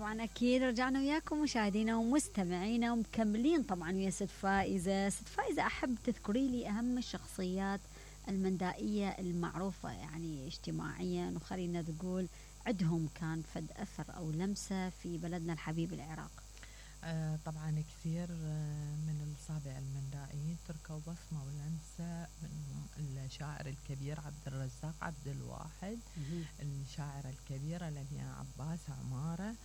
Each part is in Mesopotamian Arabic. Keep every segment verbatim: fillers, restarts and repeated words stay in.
طبعا أكيد رجعنا وياكم مشاهدينا ومستمعينا ومكملين طبعا ويا ست فائزة. ست فائزة، أحب تذكري لي أهم الشخصيات المندائية المعروفة يعني اجتماعيا، وخلينا نقول عندهم كان فد أثر أو لمسة في بلدنا الحبيب العراق. آه طبعا كثير آه من الصابع المندائيين تركوا بصمة ولمسة، منهم الشاعر الكبير عبد الرزاق عبد الواحد، الشاعرة الكبيرة لمياء عباس عمارة،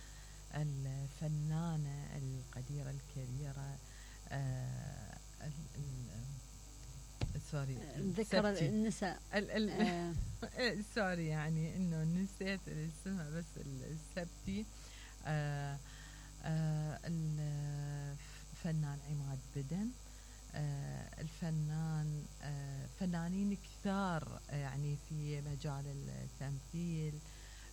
الفنانة القديرة الكبيرة آه سوري ذكر النساء ال ال آه. سوري يعني انه نسيت اسمها بس السبتي. آه آه الفنان عماد بدن، آه الفنان آه فنانين كثار يعني في مجال التمثيل.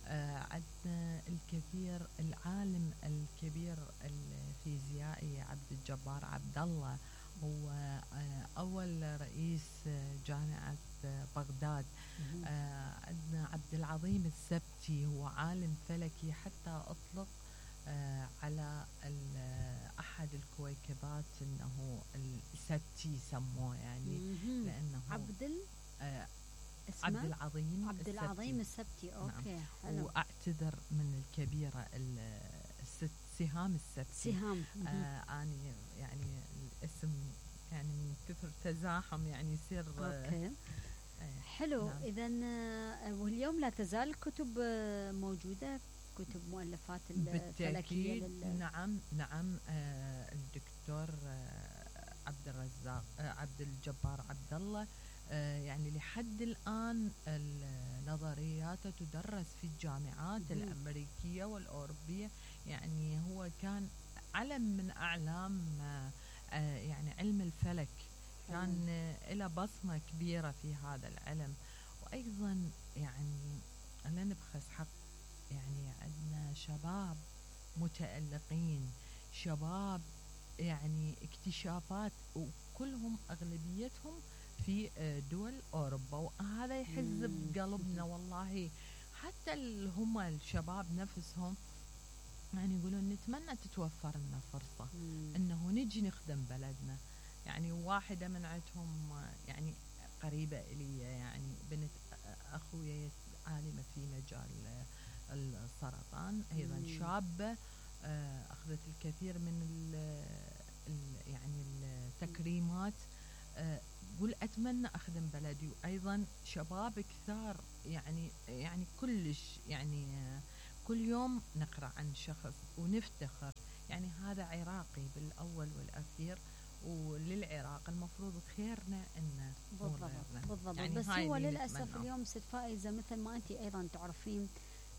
آه عندنا الكثير، العالم الكبير الفيزيائي عبد الجبار عبد الله، هو آه أول رئيس جامعة بغداد. آه عندنا عبد العظيم السبتي، هو عالم فلكي، حتى أطلق آه على أحد الكويكبات أنه السبتي سموه يعني لأنه عبد ال آه عبد العظيم عبد العظيم السبتي. أوكي نعم. حلو. وأعتذر من الكبيرة الست سهام السبتي. سهام آه أنا يعني الاسم يعني من كثر تزاحم يعني يصير أوكي. آه حلو. نعم. إذا واليوم لا تزال الكتب موجودة، كتب مؤلفات الفلكية لل... نعم نعم. آه الدكتور آه عبد الرزاق آه عبد الجبار عبد الله آه يعني لحد الآن النظريات تدرس في الجامعات م- الأمريكية والأوروبية. يعني هو كان علم من أعلام آه آه يعني علم الفلك، كان آه له بصمة كبيرة في هذا العلم. وأيضا يعني لا نبخس حق، يعني عندنا شباب متألقين، شباب يعني اكتشافات، وكلهم أغلبيتهم في دول أوروبا، وهذا يحز بقلبنا والله. حتى هم الشباب نفسهم يعني يقولون نتمنى تتوفر لنا فرصة مم. أنه نجي نخدم بلدنا. يعني واحدة من عندهم يعني قريبة إلي، يعني بنت أخويا عالمة في مجال السرطان، أيضا مم. شابة أخذت الكثير من ال ال يعني التكريمات. قل أتمنى أخدم بلدي. وأيضا شباب كثار يعني يعني كلش يعني كل يوم نقرأ عن شخص ونفتخر، يعني هذا عراقي بالأول والأخير، وللعراق المفروض خيرنا إنه بالضبط بالضبط. يعني بس هو للأسف اليوم ست فائزة مثل ما أنت أيضا تعرفين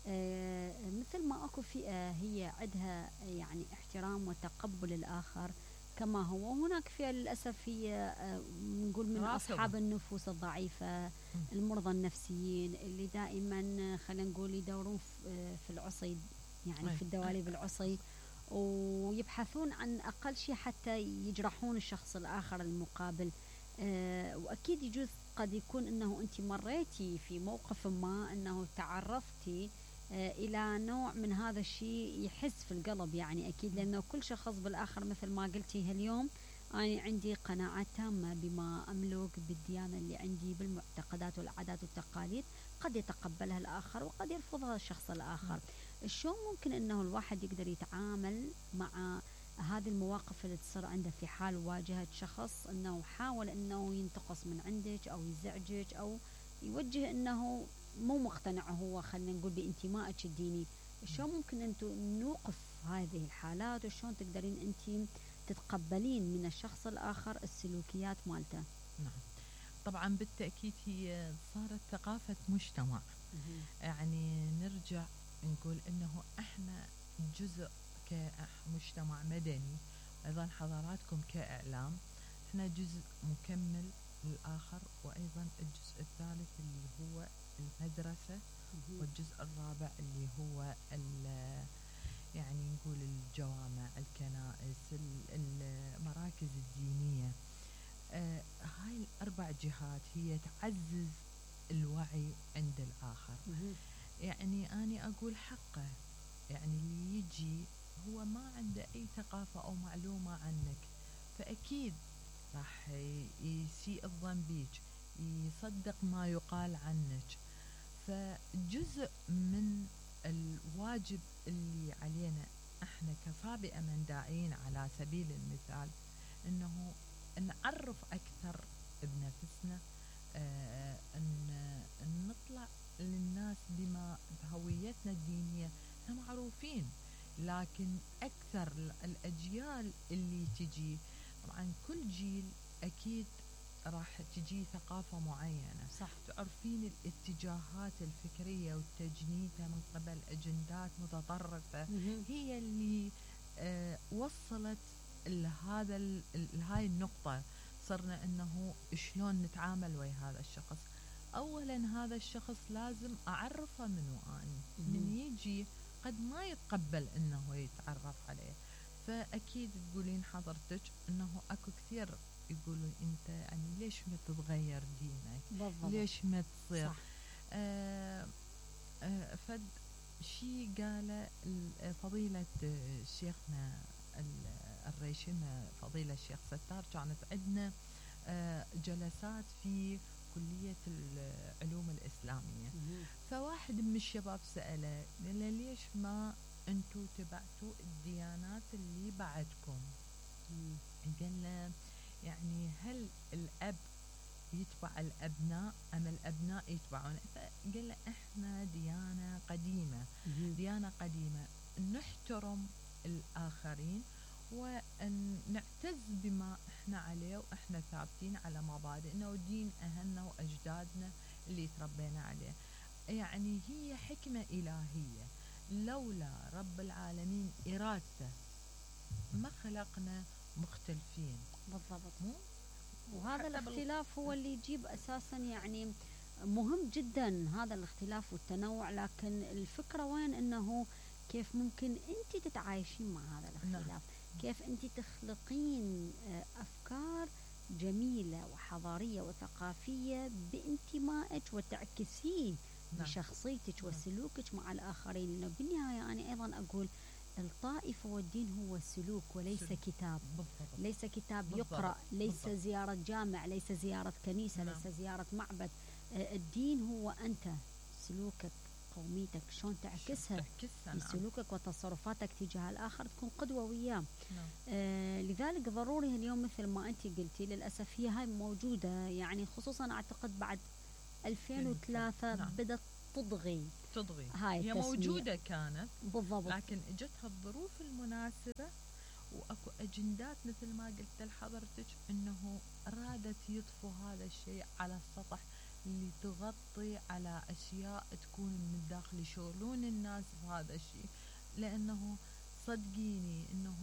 آه مثل ما أكو فئة هي عندها يعني احترام وتقبل الآخر كما هو، وهناك فئة للأسف هي آه نقول من أصحاب النفوس الضعيفة م. المرضى النفسيين اللي دائما خلينا نقول يدورون في العصي، يعني أي. في الدواليب العصي، ويبحثون عن أقل شيء حتى يجرحون الشخص الآخر المقابل. آه وأكيد يجوز قد يكون أنه أنت مريتي في موقف ما أنه تعرضتي آه إلى نوع من هذا الشيء يحس في القلب، يعني أكيد لأنه كل شخص بالآخر مثل ما قلتي اليوم أنا عندي قناعات تامة بما أملك بالديانة اللي عندي، بالمعتقدات والعادات والتقاليد، قد يتقبلها الآخر وقد يرفضها الشخص الآخر. شلون ممكن أنه الواحد يقدر يتعامل مع هذه المواقف اللي تصير عنده في حال واجهت شخص أنه حاول أنه ينتقص من عندك أو يزعجك أو يوجه أنه مو مقتنع هو خلينا نقول بانتمائك الديني؟ شلون ممكن أنتم نوقف هذه الحالات، وشلون تقدرين أنت تتقبلين من الشخص الآخر السلوكيات مالته؟ نعم طبعا بالتأكيد هي صارت ثقافة مجتمع. يعني نرجع نقول انه احنا جزء كمجتمع مدني، ايضا حضراتكم كاعلام احنا جزء مكمل للاخر، وايضا الجزء الثالث اللي هو المدرسة، والجزء الرابع اللي هو يعني نقول الجوامع، الكنائس، المراكز الدينية. آه هاي الاربع جهات هي تعزز الوعي عند الاخر. يعني أنا أقول حقه، يعني اللي يجي هو ما عنده أي ثقافة أو معلومة عنك، فأكيد راح يسيء الظن بيك، يصدق ما يقال عنك. فجزء من الواجب اللي علينا احنا كصابئة من داعين على سبيل المثال انه نعرف اكثر بنفسنا، آه ان نطلع للناس بما بهويتنا الدينية. احنا معروفين، لكن اكثر الاجيال اللي تجي، طبعا كل جيل اكيد راح تجي ثقافة معينة، صح. تعرفين الاتجاهات الفكرية والتجنيدة من قبل أجندات متطرفة هي اللي آه وصلت لهذا لهاي النقطة. صرنا أنه شلون نتعامل ويا هذا الشخص. أولا هذا الشخص لازم أعرفه منو أني، من يجي قد ما يتقبل أنه يتعرف عليه. فأكيد تقولين حضرتك أنه أكو كثير يقولون أنت يعني ليش ما تتغير دينك، بالضبط. ليش ما تصير. صح. آه آه فد شي قال فضيلة شيخنا الريشمة فضيلة الشيخ ستار، كانت عندنا آه جلسات في كلية العلوم الإسلامية. فواحد من الشباب سأله، قال له ليش ما أنتوا تبعتوا الديانات اللي بعدكم؟ قال له يعني هل الأب يتبع الأبناء أم الأبناء يتبعون؟ فقال له إحنا ديانة قديمة، ديانة قديمة نحترم الآخرين ونعتز بما إحنا عليه، وإحنا ثابتين على مبادئنا ودين أهلنا وأجدادنا اللي تربينا عليه. يعني هي حكمة إلهية، لولا رب العالمين إرادته ما خلقنا مختلفين. بالضبط. وهذا الاختلاف هو اللي يجيب أساسا يعني مهم جدا هذا الاختلاف والتنوع، لكن الفكرة وين أنه كيف ممكن أنت تتعايشين مع هذا الاختلاف. نعم. كيف أنت تخلقين أفكار جميلة وحضارية وثقافية بانتمائك وتعكسيه نعم. بشخصيتك وسلوكك مع الآخرين. لأنه بالنهاية أنا أيضا أقول الطائفة والدين هو السلوك وليس سلوك. كتاب بالضبط. ليس كتاب بالضبط. يقرأ، ليس بالضبط. زيارة جامع، ليس زيارة كنيسة نعم. ليس زيارة معبد. الدين هو أنت، سلوكك، قوميتك، شلون تعكسها بسلوكك نعم. وتصرفاتك تجاه الآخر، تكون قدوة وياه نعم. آه لذلك ضروري اليوم مثل ما أنت قلتي للأسف هي هاي موجودة، يعني خصوصا أعتقد بعد ألفين وثلاثة نعم. بدأت تضغي تضغي هاي هي التسمية. موجودة كانت بالضبط، لكن اجتها الظروف المناسبة واكو اجندات مثل ما قلت لحضرتك انه ارادت يطفوا هذا الشيء على السطح اللي تغطي على اشياء تكون من الداخل، يشغلون الناس بهذا الشيء. لانه صدقيني انه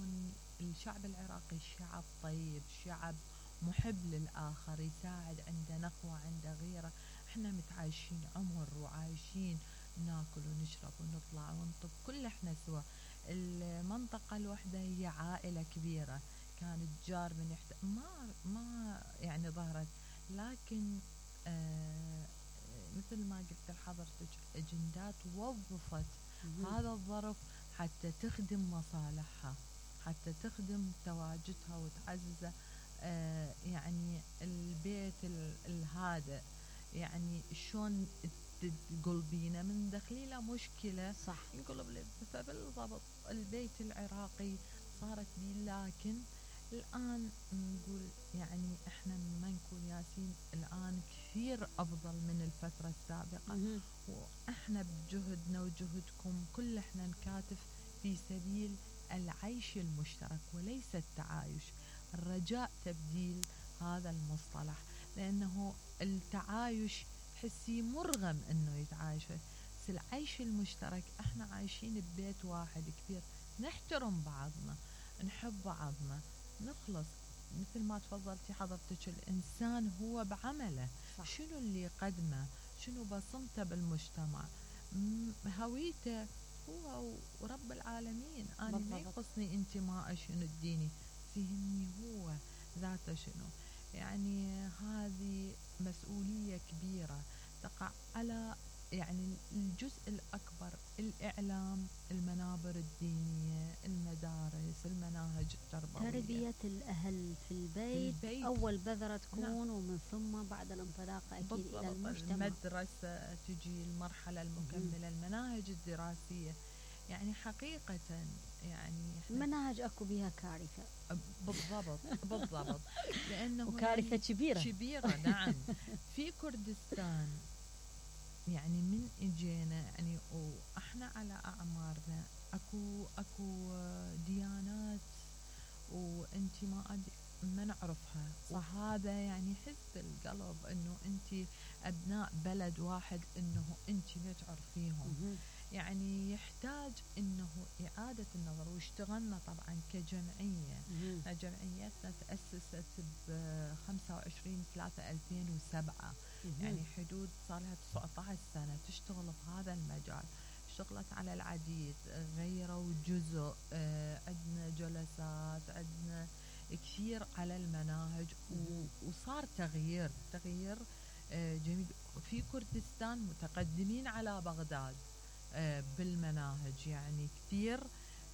الشعب العراقي شعب طيب، شعب محب للآخر، يساعد، عنده نخوة، عنده غيرة. احنا متعايشين عمر وعايشين ناكل ونشرب ونطلع ونطب كل احنا سوا. المنطقة الوحدة هي عائلة كبيرة، كان الجار من يحت... ما ما يعني ظهرت، لكن آه مثل ما قلت لحضرتك اجندات وظفت هذا الظرف حتى تخدم مصالحها، حتى تخدم تواجدها وتعززه. آه يعني البيت الهادئ، يعني شلون تقلبينه من دخيله مشكله صح ينقلب. فبالضبط البيت العراقي صارت بي، لكن الآن نقول يعني احنا ما نكون ياسين الآن كثير أفضل من الفترة السابقة، واحنا بجهدنا وجهدكم كل احنا نكاتف في سبيل العيش المشترك وليس التعايش. الرجاء تبديل هذا المصطلح، لأنه التعايش حسي مرغم انه يتعايش، بس العيش المشترك احنا عايشين ببيت واحد كبير، نحترم بعضنا، نحب بعضنا، نخلص. مثل ما تفضلتي حضرتك الانسان هو بعمله صح. شنو اللي قدمه، شنو بصمته بالمجتمع، هويته هو ورب العالمين. انا ما يخصني انتماء شنو الديني، فهمني هو ذاته شنو. يعني هذه مسؤولية كبيرة تقع على يعني الجزء الأكبر الإعلام، المنابر الدينية، المدارس، المناهج التربوية، تربية الأهل في البيت, البيت. أول بذرة تكون نعم. ومن ثم بعد الانطلاقة أكيد إلى المجتمع. المدرسة تجي المرحلة المكملة، المناهج الدراسية. يعني حقيقة يعني المناهج أكو بها كارثة. بالضبط بالضبط لأنه وكارثة يعني كبيرة كبيرة نعم. في كردستان يعني من اجينا يعني واحنا على اعمارنا اكو اكو ديانات وانتماءات ما نعرفها، وهذا يعني يحس بالقلب انه انت ابناء بلد واحد انه انت ما تعرفيهم. يعني يحتاج انه اعاده النظر، واشتغلنا طبعا كجمعيه. جمعيتنا تاسست ب خمسة وعشرين ثلاثة ألفين وسبعة، يعني حدود صار لها تسعة عشر سنه تشتغل بهذا المجال. اشتغلت على العديد، غيروا جزء، آه عندنا جلسات، عندنا كثير على المناهج، وصار تغيير تغيير آه جميل. في كردستان متقدمين على بغداد آه بالمناهج، يعني كثير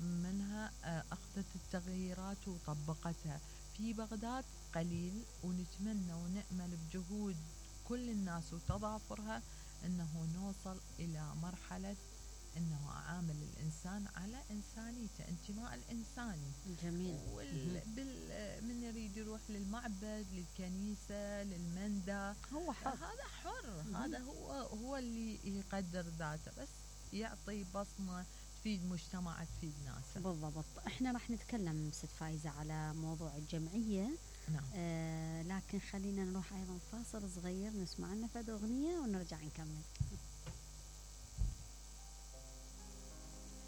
منها آه أخذت التغييرات وطبقتها. في بغداد قليل، ونتمنى ونأمل بجهود كل الناس وتضافرها أنه نوصل إلى مرحلة أنه عامل الإنسان على إنسانيته، انتماء الإنساني. جميل. من يريد يروح للمعبد، للكنيسة، للمندى، هو حر. هذا حر. هذا هو هو اللي يقدر ذاته، بس يعطي بصمة تفيد مجتمع، تفيد ناس. بالضبط. احنا راح نتكلم ست فايزة على موضوع الجمعية. نعم. آه لكن خلينا نروح أيضا فاصل صغير نسمع لنا فد أغنية ونرجع نكمل.